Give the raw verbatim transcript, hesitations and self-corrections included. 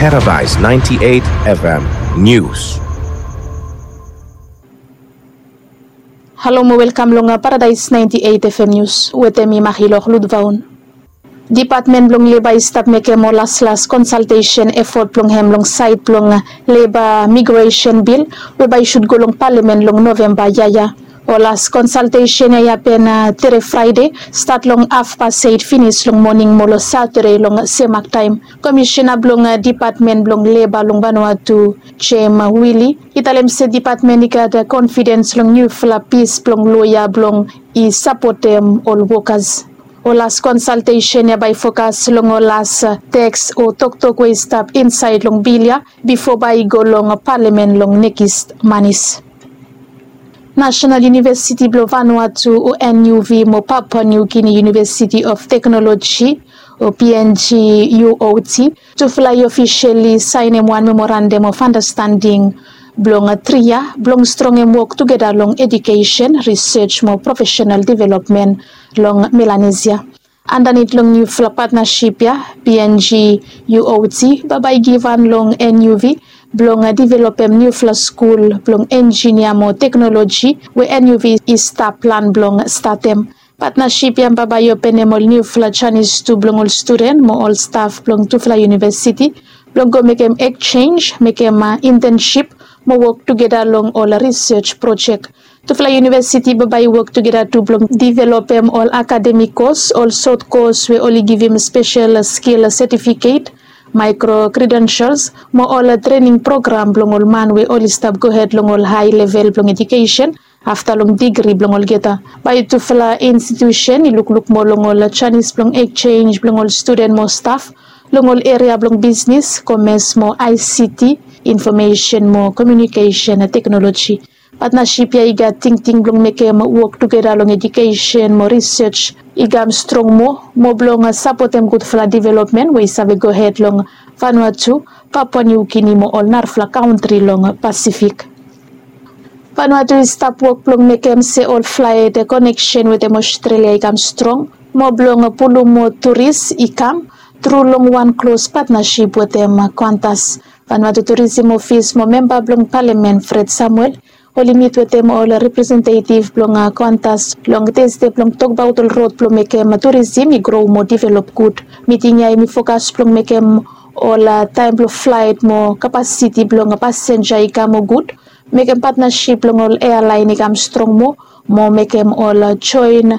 Paradise ninety-eight F M News. Halo mo welkam long Paradise ninety-eight F M News. Wetem mi Mahilok Ludvaun. Dipatmen blong Leba i stap mekem ol laslas konsaltesen efot blong hem long saed blong Leba Migresen Bil we bae i sud go long Palamen long Novemba yia ya. Ol las konsaltesen ya i hapen tere Fraede, stat long hafpas eit finis long moning mo long Satade long semak taem. Komisena blong Dipatmen blong Leba long Vanuatu, Jem Wili, i talem se dipatmen i gat konfidens long niufala pis blong loea blong i sapotem ol wokas. Ol las konsaltesen ya bae i fokas long ol las teks o toktok we i stap insaed long bil ya bifo bae i go long Palamen long nekis manis. Nasenal Univesiti blong Vanuatu o N U V mo Papua New Guinea University of Technology o P N G U O T, tufala i ofiseli saenem wan memorandam of andastanding blong tri yia blong strongem wok tugeta long ejukesen, risej mo profesenal developmen long Melanesia. Andanit long niufala patnasip ya, P N G U O T bambae i givhan long N U V blong developem niufala skul blong enjinia mo teknoloji we N U V i stap plan blong statem. Patnasip ya bambae i openem ol niufala janis tu blong ol studen mo ol staf blong tufala univesiti blong go mekem ekjenj, mekem intensip mo wok tugeta long ol risej projek. Tufala univesiti bambae i wok tugeta tu blong developem ol akademik kos, ol sot kos we oli givim spesel skil setifiket, maekro kredensels mo ol trening program blong ol man we oli stap gohed long ol hae level blong ejukesen afta long digri blong olgeta. Bae tufala institusen i lukluk moa long ol janis blong ekjenj blong ol studen mo staf long ol eria blong bisnis, komes mo I C T, infomesen mo komiunikesen teknoloji. Patnasip ya i gat tingting blong mekem wok tugeta long ejukesen mo risej i kam strong moa mo blong sapotem gudfala developmen we i save gohed long Vanuatu, Papua New Guinea mo ol narafala kantri long Pasifik. Vanuatu i stap wok blong mekem se ol flaet koneksen wetem Ostrelia i kam strong mo blong pulum moa turis i kam tru long wan klos patnasip wetem Qantas. Vanuatu Turisim Ofis mo memba blong Palamen Fred Samuel oli mit wetem ol representetiv blong Qantas long Tasde blong tokbaot ol rod blong mekem turisim i gro mo develop gud. Miting ya hemi fokas blong mekem ol taem blong flaet mo kapasiti blong pasenja i kam moa gud, mekem patnasip blong ol ealaen i kam strong moa, mo mekem ol joen